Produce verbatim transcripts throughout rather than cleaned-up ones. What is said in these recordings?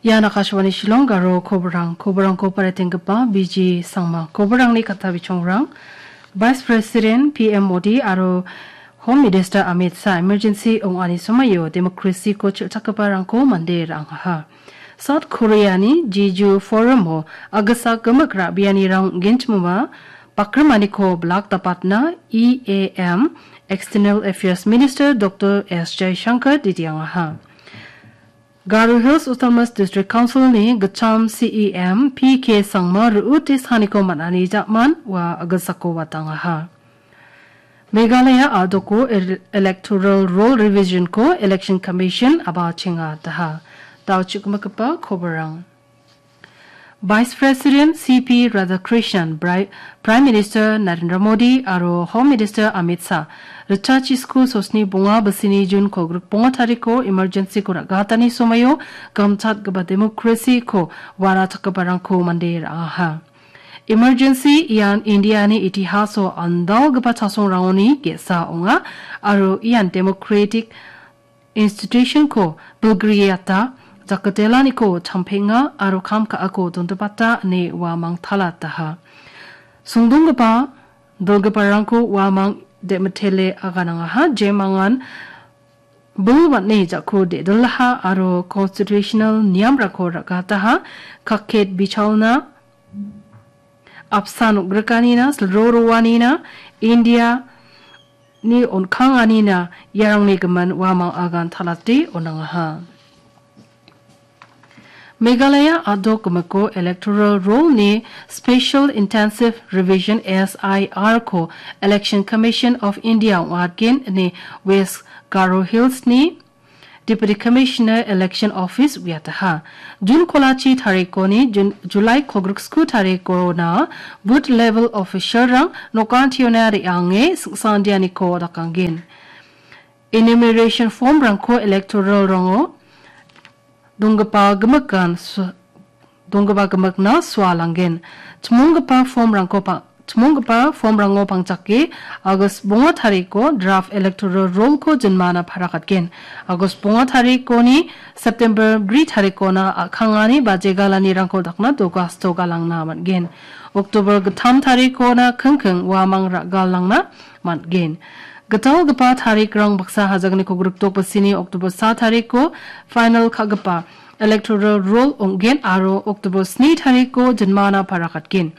Ian Akashvani Shillong Garo koborang, koborangko paritenggipa B G Sangma, koborangni katta bichongrang, Vice President P M Modi aro Home Minister Amit Shah emergency ong·ani somoio democracy-ko chilchakgiparangko mande ra·angaha. South Korea-ni Jeju Forum-o agisa gimik ra·bianirang ong·genchimoba bakrimaniko bilak dapatna E A M External Affairs Minister Doctor S Jaishankar didiangaha. Garo Hills Autonomous District Council-ni gitcham C E M P K Sangma ru·ute saniko man·ani ja·man ua agisako watangaha. Meghalaya a·doko el-, Electoral Roll Revision-ko Election Commission a·bachenga daha. Dao chukmikgipa koborang. Vice President C P Radhakrishnan, Bri-, Prime Minister Narendra Modi aro Home Minister Amit Shah, ritachi sku sosni bonga bisini June kolgrik bonga tariko emergency-ko ra·gatani somoio gamchatgipa democracy-ko wara chakgiparangko mande ra·aha. Emergency ian Indiani itihaso andalgipa chasongrangoni ge·sa ong·a aro ian democratic institution-ko bilgriata jakatelaniko champenga aro kam ka·ako dondipata ine uamang talataha. Songdonggipa dilgiparangko uamang de·mitele aganangaha, jemangan bil man·e jako de·dilaha aro constitutional niamrangko ra·gataha, kakket bichalna, apsan ong·grikanina, silro roanina, India-ni on·kanganina, iarangni gimin uamang agan talate on·angaha. Meghalaya a·dok gimiko Electoral Roll-ni Special Intensive Revision, S I R-ko Election Commission of India ong·atgen ine West Garo Hills-ni Deputy Commissioner Election Office uiataha. June kolachi tarikoni Jun-, July kolgrik sku tarikona booth level official-rang nokantiona re·ange singsandianiko dakanggen. Enumeration form-rangko electoral rongo donggipa gimikan su-, donggipa gimikna sualanggen. Chimonggipa form-rangko pa-, chimonggipa form-rango pangchake August bonga tariko draft electoral roll-ko jinmana parakatgen. August bonga tarikoni September bri tarikona a·kangani bajegalanirangko dakna dogasto galangna man·gen. October gittam tarikona kingking uamang ra·galangna man·gen. Gitalgipa tarikrang baksa hajakni kolgrik dok bisini October sa tariko final ka·gipa electoral roll ong·gen aro October sni tariko jinmana parakatgen.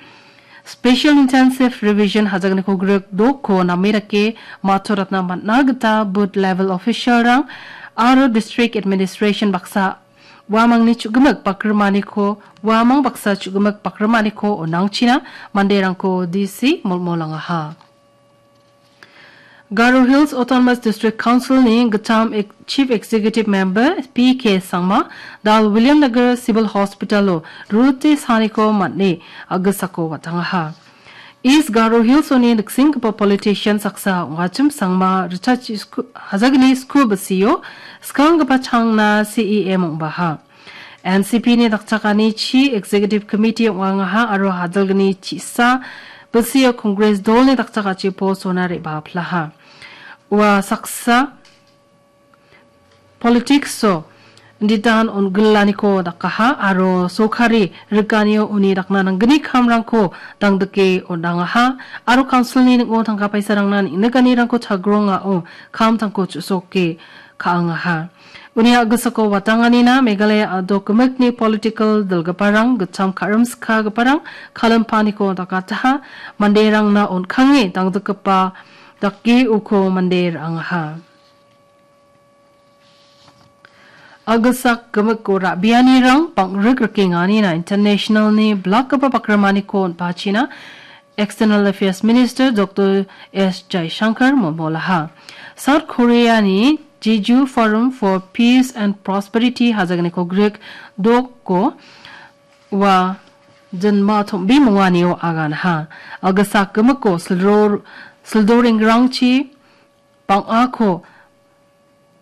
Special Intensive Revision hajakni kolgrik dokko name dake matoratna man·a gita booth level official-rang aro district administration baksa uamangni chu·gimik bakrimaniko, uamang baksa chu·gimik bakrimaniko on·angchina manderangko D C molmolangaha. Garo Hills Autonomous District Council-ni gittam ek-, Chief Executive Member P K Sangma, Dal Williamnagar Civil Hospital-o rute saniko man·e agisako watangaha. East Garo Hills-oni niksenggipa politician saksa ong·achim Sangma ritachi sku-, hajakni sku bisio skanggipa changna C E M ong·baha. N C P-ni dakchakani chi Executive Committee ong·angaha aro hajalgni chi·sa bisio Congress dolni dakchakachi post-ona re·baplaha. Ua saksa politics-o inditan on·gilaniko dakaha aro sorkari rikanio uni dakna nanggni kamrangko dangdike on·angaha aro council-ni ning·o tangka paisarangna neng·nikanirangko chagrongao kamtangko chu·soke ka·angaha. Uni a·gisako watanganina Meghalaya a·dok gimikni political dilgiparang, gittam ka·rimskagiparang kalimpaniko dakataha, manderangna on·kange dangdikgipa dake uko mande ra·angaha. A·gisak gimiko ra·bianirang bang·rik rikenganina international-ni bilakgipa bakrimaniko on·pachina External Affairs Minister Doctor S Jaishankar molmolaha. South Korea-ni Jeju Forum for Peace and Prosperity hajakni kolgrik doko ua jinma tom·bimonganio aganha. A·gisak gimiko sildor-, sildorengrangchi bang·ako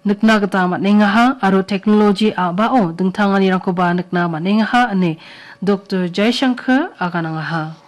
nikna gita man·engaha aro technology a·bao dingtanganirangkoba nikna man·engaha ine Doctor Jaishankar aganangaha.